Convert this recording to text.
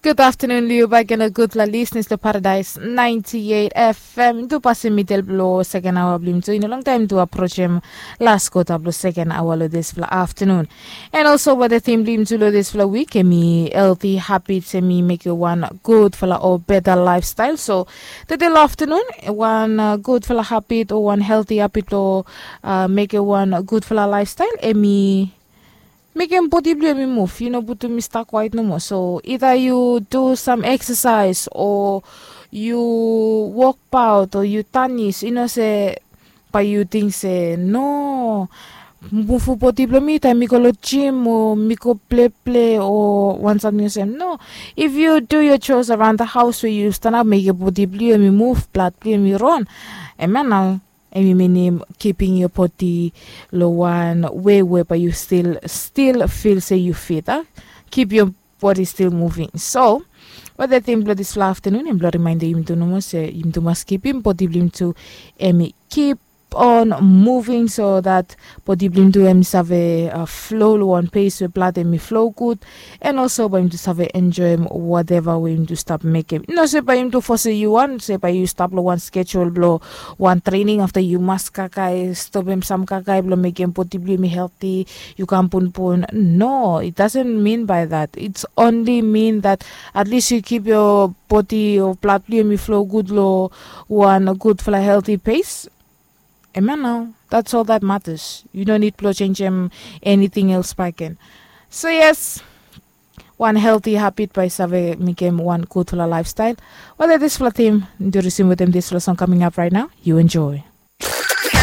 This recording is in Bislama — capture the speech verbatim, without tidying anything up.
Gud aftanun long yu baik gen, o gudfala lisnis long Paradais naenti eit F M. Yumi tu pasem midel blong seken aoa blong yumi tu. I no longtaem yumi tu aprojem las kota blong seken aoa long disfala aftanun. And also, wada tim blong yumi tu long disfala wik hemi healthy habits, hemi mekem wan gudfala o beta laefstael. So tede long aftanun, wan gudfala habit o wan healthy habit blong mekem wan gudfala laefstael, hemi mekem bodi blong yu hemi muv. Yu no putum i stap kwaet nomo. So ida yu du sam eksasaes o yu wokbaot o yu tanis, i no se bae yu ting se no, muvum bodi blong mi taem mi go long jim o mi go pleple o wan samting olsem. No, if yu du yo chores araon da haos we yu stanap mekem bodi blong yu hemi muv, blad blong yu hemi ron, hemia nao hemi minim kipim yo bodi long wan wei we bae yu stil stil fil se yu fit a, kip yo bodi stil muving. So wada tim blong disfala aftanun hem blong rimaendem yumi tu nomo se yumi tu mas kipim bodi blong yumi tu hemi kip on muving so dat bodi blong yumi tu hemi save flo long wan pes we blad hemi flo gud. And also bae yumi tu save enjoem wateva we yumi tu stap mekem. I no se bae yumi tu fosem yu wan se bae yu stap long wan skejul blong wan trening afta yu mas kakae stopem sam kakae blong mekem bodi blong yu hemi helti, yu kam punpun. No, it dasen min bae dat. Its onli min dat atlis yu kip yo bodi o blad blong yu hemi flo gud long wan gudfala helti pes. Hemia nao, dats ol dat matas. Yu no nid blong jenjem eniting els baek gen. So yes, wan helti habit bae i save mekem wan gudfala laefstael. Wada disfala tim yumi tu risim wetem disfala song kaming ap raet nao. Yu enjoe.